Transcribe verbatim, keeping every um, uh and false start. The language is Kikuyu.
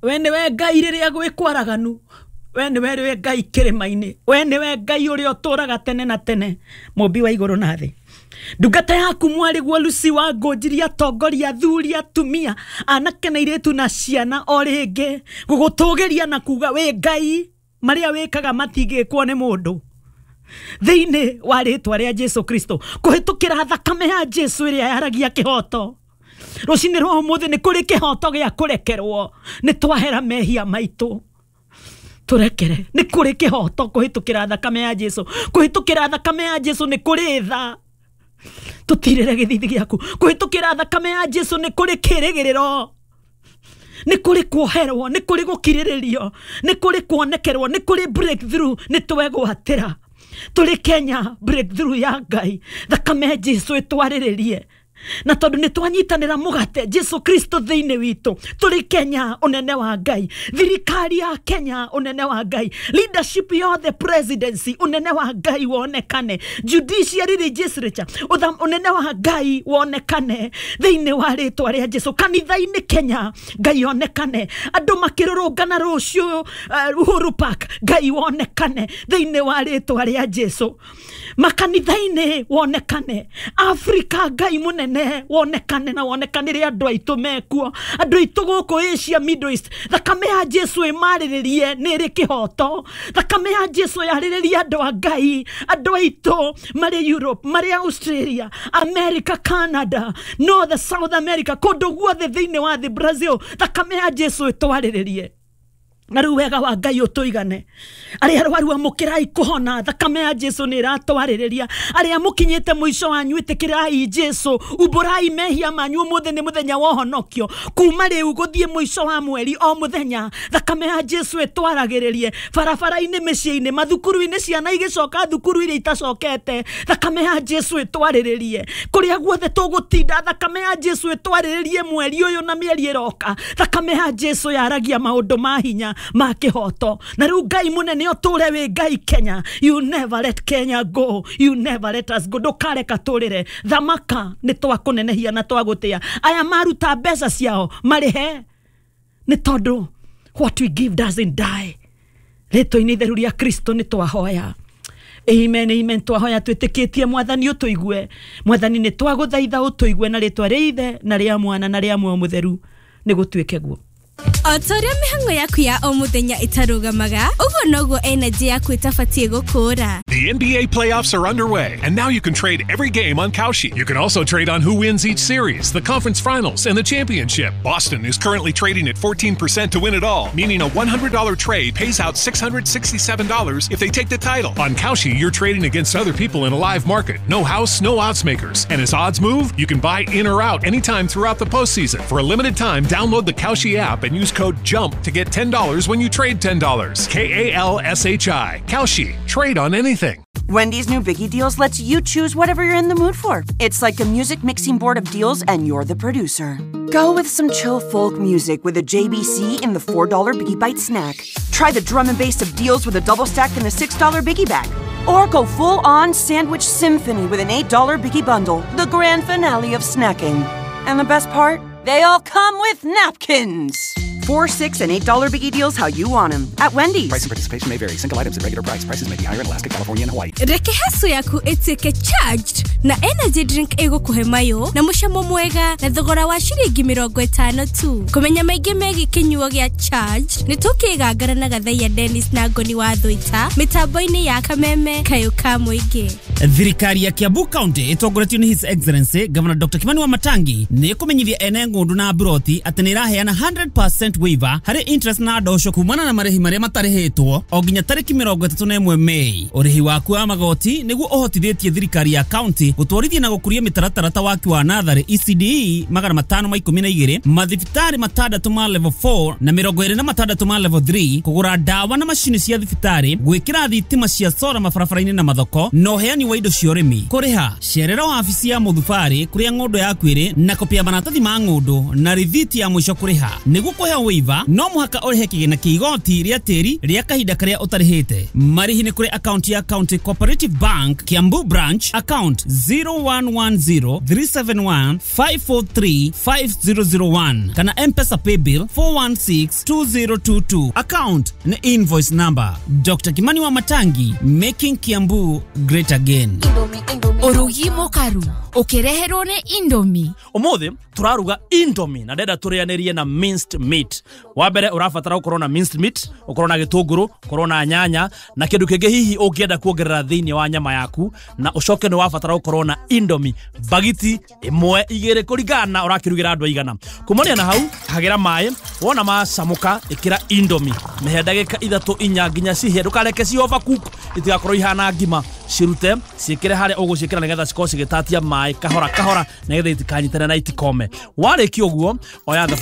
We nĩwe Ngai rĩrĩa gwĩ kwaraganu, we nĩwe rĩwe Ngai kĩrĩma-inĩ, we nĩwe Ngai ũrĩa ũtũũraga tene na tene, mũmbi wa igũrũ na thĩ. Ndungata yaku mwarĩguo Lucy wa Ngũnjiri, atongoria, athuri, atumia, anake na airĩtu na ciana, o rĩngĩ gũgũtũgĩria na kuga wĩ Ngai, marĩa wĩkaga matingĩkwo nĩ mũndũ. Thĩinĩ wa rĩtwa rĩa Jesu Kristo, kũhĩtũkĩra thakame ya Jesu ĩrĩa yaragia kĩhoto, rũcinĩ rwa ũmũthĩ nĩ kũrĩ kĩhoto gĩa kũrekerwo, nĩ twahera mehia maitũ, tũrekere. Nĩ kũrĩ kĩhoto kũhĩtũkĩra thakame ya Jesu, kũhĩtũkĩra thakame ya Jesu nĩ kũrĩ tha, tũtirĩre gĩthithi gĩaku. Kũhĩtũkĩra thakame ya Jesu nĩ kũrĩ kĩrĩgĩrĩro, nĩ kũrĩ kuoherwo, nĩ kũrĩ gũkirĩrĩrio, nĩ kũrĩ kuonekerwo, nĩ kũrĩ breakthrough. Nĩ twegwatĩra tũrĩ Kenya breakthrough ya Ngai, thakame ya Jesu ĩtwarĩrĩrie. Na tondũ nĩ twanyitanĩra mũgate Jesu Kristo thĩinĩ witũ, tũrĩ Kenya ũnene wa Ngai, thirikari ya Kenya ũnene wa Ngai, leadership yothe, presidency ũnene wa Ngai wonekane, judiciary, legislature ũnene wa Ngai wonekane thĩinĩ wa rĩtwa rĩa Jesu. Kanitha-inĩ Kenya Ngai onekane, andũ makĩrũrũngana rũciũ uh, Uhuru Park Ngai wonekane thĩinĩ wa rĩtwa rĩa Jesu. Makanitha-inĩ wonekane, Afrika Ngai mũnene wonekane na wonekanĩre andũ aitũ mekuo, andũ aitũ gũkũ Asia, Middle East, thakame ya Jesu ĩmarĩrĩrie nĩ ĩrĩ kĩhoto. Thakame ya Jesu yarĩrĩrie andũ a Ngai, andũ aitũ marĩ Europe, marĩ Australia, America, Canada, North, South America, kũndũ guothe thĩinĩ wa thĩ, Brazil, thakame ya Jesu ĩtwarĩrĩrie. Na rĩu wega wa Ngai ũtũigane. Arĩa arwaru amũkĩrai kũhona, thakame ya Jesu nĩ ĩratwarĩrĩria. Arĩa mũkinyĩte mũico wanyu ĩtĩkĩrai Jesu, umbũrai mehia manyu, ũmũthĩ nĩ mũthenya wa ũhonokio. Kuma rĩu gũthiĩ mũico wa mweri o mũthenya, thakame ya Jesu ĩtwaragĩrĩrie barabara-inĩ, mĩciĩ-inĩ, mathukuru-inĩ, ciana igĩcoka thukuru iria itacokete, thakame ya Jesu ĩtwarĩrĩrie kũrĩa guothe tũgũtinda, thakame ya Jesu ĩtwarĩrĩrie mweri ũyũ na mĩeri ĩroka. Thakame ya Jesu yaragia maũndũ ma hinya ma kĩhoto. Na rĩu Ngai mũnene ũtũre wĩ Ngai Kenya, you never let Kenya go, you never let us go. Ndũkareka tũrĩre, thamaka nĩ twakũnenehia na twagũtĩa. Aya maruta mbeca ciao marĩhe, nĩ tondũ what we give doesn't die. Rĩtwa-inĩ itheru rĩa Kristo nĩ twahoya. Amen, amen. Twahoya twĩtĩkĩtie Mwathani ũtũigue. Mwathani nĩ twagũthaitha ũtũigue na rĩtwa rĩa Ithe na rĩa Mwana na rĩa Muoyo Mũtheru, nĩ gũtuĩke guo. O ta ũrĩa mĩhang'o yaku ya o mũthenya ĩtarũgamaga, ũguo noguo energy yaku ĩtabatiĩ gũkũra. The N B A playoffs are underway, and now you can trade every game on Kalshi. You can also trade on who wins each series, the conference finals, and the championship. Boston is currently trading at fourteen percent to win it all, meaning a one hundred dollar trade pays out six hundred sixty-seven dollars if they take the title. On Kalshi, you're trading against other people in a live market. No house, no odds makers. And as odds move, you can buy in or out anytime throughout the postseason. For a limited time, download the Kalshi app and use code JUMP to get ten dollars when you trade ten dollars. K A L S H I. Kalshi. Trade on anything. Wendy's new Biggie Deals lets you choose whatever you're in the mood for. It's like a music mixing board of deals, and you're the producer. Go with some chill folk music with a J B C in the four dollar Biggie Bite snack. Try the drum and bass of deals with a double stack in the six dollar Biggie Bag. Or go full-on sandwich symphony with an eight dollar Biggie Bundle, the grand finale of snacking. And the best part? They all come with napkins. Four, six, and eight dollar Biggie Deals how you want them at Wendy's. Price and participation may vary. Single items at regular price. Prices may be higher in Alaska, California, and Hawaii. Reke haso yaku ĩtuĩke charged na energy drink ĩgũkũhe mayo na mũcamo mwega na thogora wa ciringi mĩrongo ĩtano tu. Kũmenya maingĩ megiĩ kĩnyuo gĩa charged nĩ tũkĩgangara na Gathaiya Dennis na Ngoni wa Thũita mĩtambo-inĩ ya Kameme Kayũ ka Mũingĩ. Thirikari ya Kiambu County ĩtongoretio nĩ His Excellency Governor Doctor Kimani Wamatangi nĩ ĩkũmenyithia ene ng'ũndũ na mburoti atĩ nĩ ĩraheana hundred percent waiver harĩ interest na ndosho kumana na marĩhi marĩa matarĩhĩtwo o nginya tarĩki mĩrongo ĩtatũ na ĩmwe Mei. Ũrĩhi waku wa magoti nĩguo ũhotithĩtie thirikari ya county gũtwarithia na gũkũria mĩtaratara ta waki wa natharĩ E C D E magana matano ma ikũmi na igĩrĩ, mathibitarĩ matandatũ ma level four na mĩrongo ĩrĩ na matandatũ ma level three, kũgũra ndawa na macini cia thibitarĩ, gwĩkĩra thitima cia sora mabarabara-inĩ na mathoko, na ũheani wa indo cia ũrĩmi. Kũrĩha cerera wabici ya mũthubarĩ kũrĩa ng'ũndũ yaku ĩrĩ na kopi ya maratathi ma ng'ũndũ na rithiti ya mũico kũrĩha nĩguo kũheo Ũngĩheo waiver no mũhaka ũrĩhe kĩgĩna kĩa igoti rĩa tĩri rĩa kahinda karĩa ũtarĩhĩte. Marĩhi nĩ kũrĩ akaunti ya County Cooperative Bank Kiambu Branch, account zero one one zero three seven one five four three five zero zero one, kana M-Pesa paybill four one six two zero two two, account nĩ invoice number. Doctor Kimani Wamatangi, making Kiambu great again. Ũrugi mũkaru ũkĩreherwo nĩ Indomie. Umuthi turaruga Indomie na ndenda tũrĩanĩrie na minced meat. Wa mbere, ũrabatara gũkorwo na minced meat, ũkorwo na gĩtũngũrũ, ũkorwo na nyanya na kĩndũ kĩngĩ hihi ũngĩenda kuongerera thĩinĩ wa nyama yaku, na ũcoke nĩ wabatara gũkorwo na Indomie bagiti ĩmwe, igĩrĩ, kũringana na ũrakĩrugĩra andũ aigana. Kumania na hau, hagĩra maĩ, wona macamũka ĩkĩra Indomie, mĩhe ndagĩka ithatũ, inya, nginya cihĩe. Ndũkareke ci overcook, itigakorwo ihana ngima. Cirute, ciĩkĩre harĩa ũgũciĩkĩra nĩgetha cikorwo cigĩtatia maĩ kahora kahora, nĩgetha itikanyitane na itikome. Warĩkia ũguo, oya thaburia.